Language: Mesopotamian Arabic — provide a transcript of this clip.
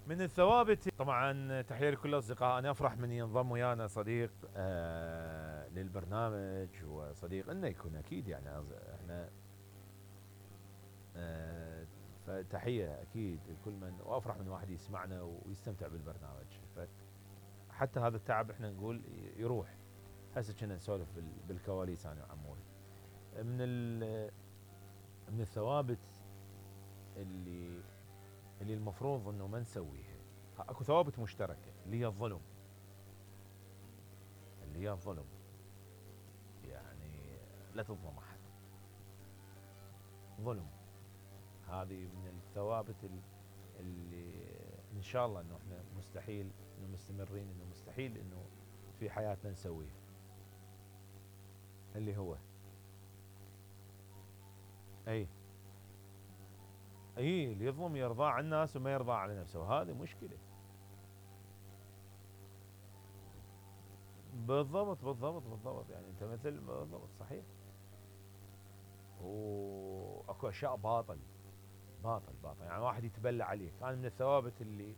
من الثوابت طبعا، تحية لكل الاصدقاء. انا افرح من ينضم ويانا صديق للبرنامج، وصديق انه يكون اكيد يعني احنا فتحية اكيد لكل من، وافرح من واحد يسمعنا ويستمتع بالبرنامج. حتى هذا التعب احنا نقول يروح. هسه كنا نسولف بالكواليس انا وعموري. من من الثوابت اللي المفروض انه ما نسويها، اكو ثوابت مشتركه اللي هي الظلم. اللي هي الظلم، يعني لا تظلم احد. ظلم، هذه من الثوابت اللي ان شاء الله انه احنا مستحيل انه مستمرين، انه مستحيل انه في حياتنا نسويها. اللي هو اي اللي يظلم يرضى على الناس وما يرضى على نفسه، وهذه مشكله. بالضبط بالضبط بالضبط، يعني انت مثل بالضبط صحيح. واكو اشياء باطل باطل باطل، يعني واحد يتبلى عليك. انا من الثوابت اللي